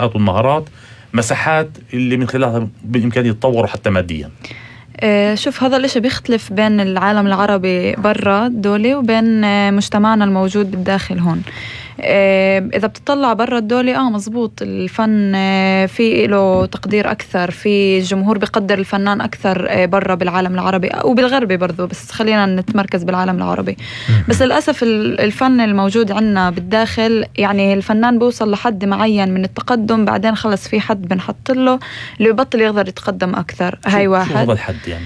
والمهارات مساحات اللي من خلالها بالإمكان يتطوروا حتى ماديا. شوف، هذا الاشي بيختلف بين العالم العربي برا الدولة وبين مجتمعنا الموجود بالداخل هون. إذا بتطلع برا الدولة مزبوط، الفن في له تقدير أكثر، في الجمهور بيقدر الفنان أكثر برا بالعالم العربي وبالغربي برضو، بس خلينا نتمركز بالعالم العربي. بس للأسف الفن الموجود عنا بالداخل، يعني الفنان بيوصل لحد معين من التقدم، بعدين خلص في حد بنحط له اللي ببطل يقدر يتقدم أكثر. هاي واحد. شو هذا الحد يعني؟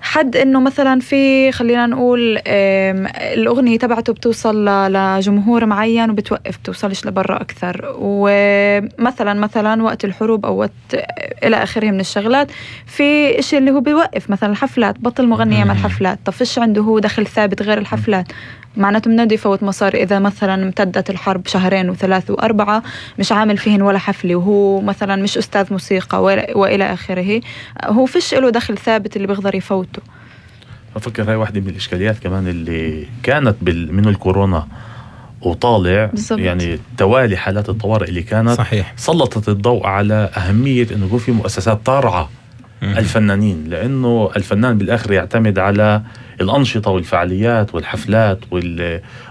حد إنه مثلا في، خلينا نقول، الأغنية تبعته بتوصل لجمهور معين وبتوقف، بتوصلش لبرا أكثر. ومثلا وقت الحروب أو وقت إلى آخره من الشغلات، في إشي اللي هو بيوقف، مثلا الحفلات، بطل مغني يعمل حفلات. طب فيش عنده هو دخل ثابت غير الحفلات، معناته منادي يفوت مصاري. إذا مثلا امتدت الحرب 2 و3 و4 مش عامل فيهن ولا حفلة، وهو مثلا مش أستاذ موسيقى وإلى آخره، هو فيش له دخل ثابت اللي بيقدر يفوته. أفكر هاي واحدة من الإشكاليات كمان اللي كانت من الكورونا وطالع بالزبط. يعني توالي حالات الطوارئ اللي كانت صحيح. سلطت الضوء على أهمية إنه يكون في مؤسسات ترعى الفنانين، لأنه الفنان بالآخر يعتمد على الأنشطة والفعاليات والحفلات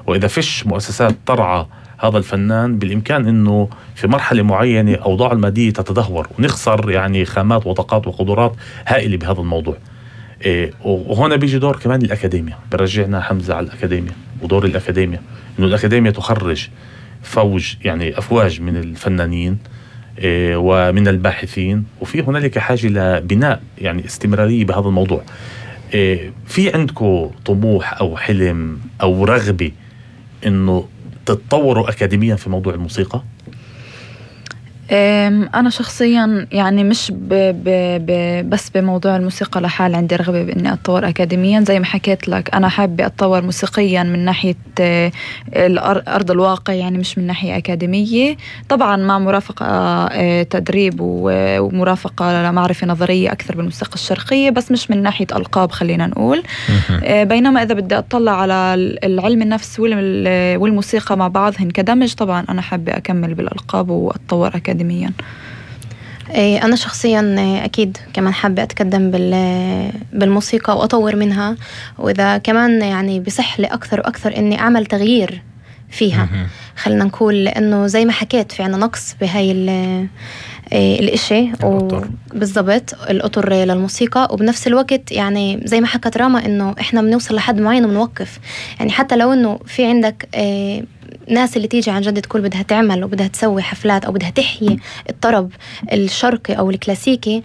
وإذا فيش مؤسسات ترعى هذا الفنان، بالإمكان إنه في مرحلة معينة أوضاع المادية تتدهور ونخسر يعني خامات وطاقات وقدرات هائلة بهذا الموضوع. وهنا بيجي دور كمان الأكاديمية. برجعنا حمزة على الأكاديمية ودور الأكاديمية، إنه الأكاديمية تخرج أفواج من الفنانين ومن الباحثين، وفي هنالك حاجة لبناء يعني استمرارية بهذا الموضوع. في عندكم طموح أو حلم أو رغبة إنه تتطوروا أكاديميا في موضوع الموسيقى؟ أنا شخصيا يعني مش بس بموضوع الموسيقى لحال، عندي رغبة بإني أتطور أكاديميا. زي ما حكيت لك، أنا حابة أتطور موسيقيا من ناحية أرض الواقع، يعني مش من ناحية أكاديمية. طبعا مع مرافقة تدريب ومرافقة لمعرفة نظرية أكثر بالموسيقى الشرقية، بس مش من ناحية ألقاب خلينا نقول. بينما إذا بدي أطلع على العلم النفس والموسيقى مع بعضهن كدمج، طبعا أنا حابة أكمل بالألقاب وأتطور أكاديميا. أنا شخصيا أكيد كمان حابة أتقدم بالموسيقى وأطور منها، وإذا كمان يعني بصح لي أكثر وأكثر إني أعمل تغيير فيها. خلينا نقول لأنه زي ما حكيت في عنا نقص بهاي الاشي بالضبط الأطر للموسيقى، وبنفس الوقت يعني زي ما حكت راما إنه إحنا بنوصل لحد معين وبنوقف. يعني حتى لو إنه في عندك ناس اللي تيجي عن جد تقول بدها تعمل وبدها تسوي حفلات أو بدها تحيي الطرب الشرقي أو الكلاسيكي،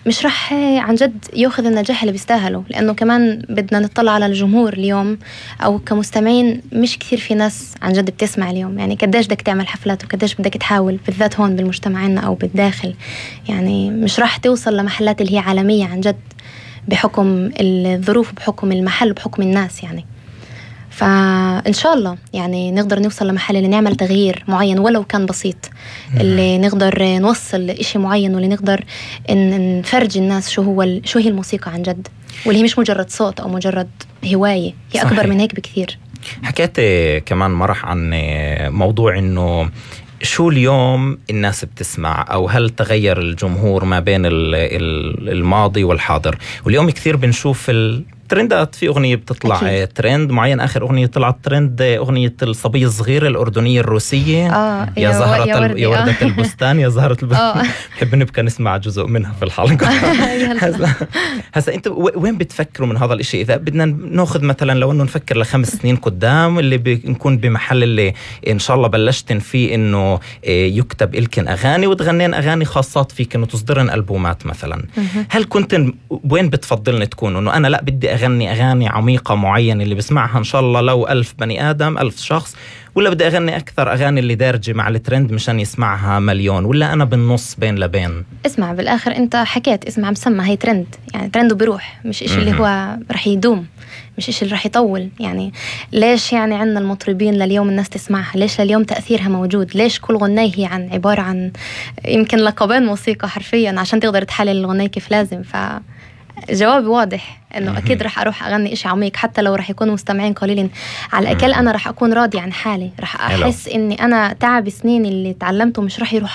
مش رح عن جد يأخذ النجاح اللي بيستاهله، لأنه كمان بدنا نطلع على الجمهور اليوم أو كمستمعين. مش كثير في ناس عن جد بتسمع اليوم، يعني قديش بدك تعمل حفلات وقديش بدك تحاول، بالذات هون بالمجتمعنا أو بالداخل. يعني مش رح توصل لمحلات اللي هي عالمية عن جد بحكم الظروف، بحكم المحل، بحكم الناس يعني. فإن شاء الله يعني نقدر نوصل لمحل اللي نعمل تغيير معين ولو كان بسيط، اللي نقدر نوصل لإشي معين، واللي نقدر نفرج الناس شو هي الموسيقى عن جد، واللي هي مش مجرد صوت أو مجرد هواية، هي أكبر من هيك بكثير. حكيت كمان مرح عن موضوع إنه شو اليوم الناس بتسمع، أو هل تغير الجمهور ما بين الماضي والحاضر. واليوم كثير بنشوف ترندات، في أغنية بتطلع أكيد. ترند معين. آخر أغنية طلعت ترند أغنية الصبية الصغيرة الأردنية الروسية يا زهرة يا وردة البستان، يا زهرة البستان. بحب نبقى نسمع جزء منها في الحلقة. هسا أنت وين بتفكروا من هذا الإشي؟ إذا بدنا نأخذ مثلا لو أنه نفكر ل5 سنين قدام، اللي بنكون بمحل اللي إن شاء الله بلشتن فيه إنه يكتب إلكن أغاني وتغنين أغاني خاصات فيك، إنه تصدرن ألبومات مثلا. هل كنت وين بتفضلن تكون؟ إنه أنا لا بدي أغني أغاني عميقة معينة اللي بسمعها إن شاء الله لو 1000 بني آدم 1000 شخص، ولا بدي أغني أكثر أغاني اللي دارجة مع الترند مشان يسمعها مليون، ولا أنا بالنص بين لبين؟ اسمع، بالآخر أنت حكيت اسمع مسمى، هي ترند، يعني ترند وبروح، مش إشي اللي هو رح يدوم، مش إشي اللي رح يطول. يعني ليش يعني عنا المطربين لليوم الناس تسمعها؟ ليش لليوم تأثيرها موجود؟ ليش كل غناية هي عبارة عن يمكن لقبين موسيقى حرفيا عشان تقدر تحلل الغناية كيف لازم؟ جوابي واضح إنه أكيد رح أروح أغني إشي عميق، حتى لو رح يكونوا مستمعين قليلين. على الأقل أنا رح أكون راضي عن حالي، رح أحس إني أنا تعب سنين اللي تعلمته مش رح يروح